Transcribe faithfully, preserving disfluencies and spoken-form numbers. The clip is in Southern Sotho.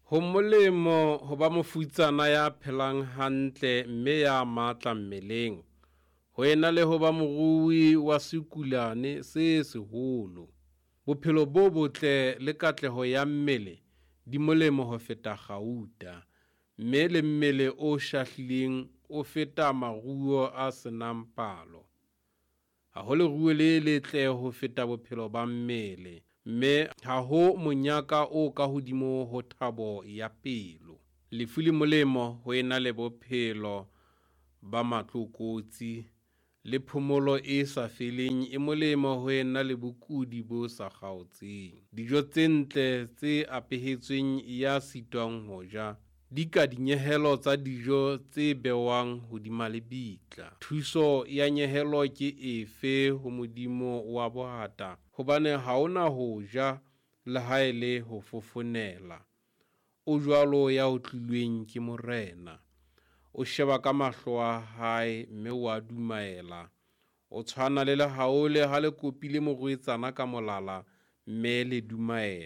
Ho molemo ho ba mofutsana ya phelang hantle mme ya matla mmeleng, ho ena le ho ba morui wa sekulane se seholo. Bophelo bo botle le katleho ya mmele di molemo ho feta kgauta, mme le mmele o shahlileng o feta maruo a se nang palo. Ha ho leruo le letle ho feta bophelo ba mmele, mme ha ho monyaka o kahodimo ho thabo ya pelo. Lefu le molemo ho ena le bophelo ba matlokotsi, le phomolo e sa feleng e molemo ho ena le bokudi bo sa kgaotseng. Dijo tse ntle tse apehetsweng ya sitwang ho ja, di ka dinyehelo tsa dijo tse bewang hodima lebitla. Thuso ya nyehelo ke efe ho modimo wa bohata? Hobane ha o na ho ja, le ha e le ho fofonela. O jwalo ya otlilweng ke Morena. O sheba ka mahlo a hae, mme o a dumaela. O tshwana le lehaole ha le kopile morwetsana ka molala, mme le dumaela.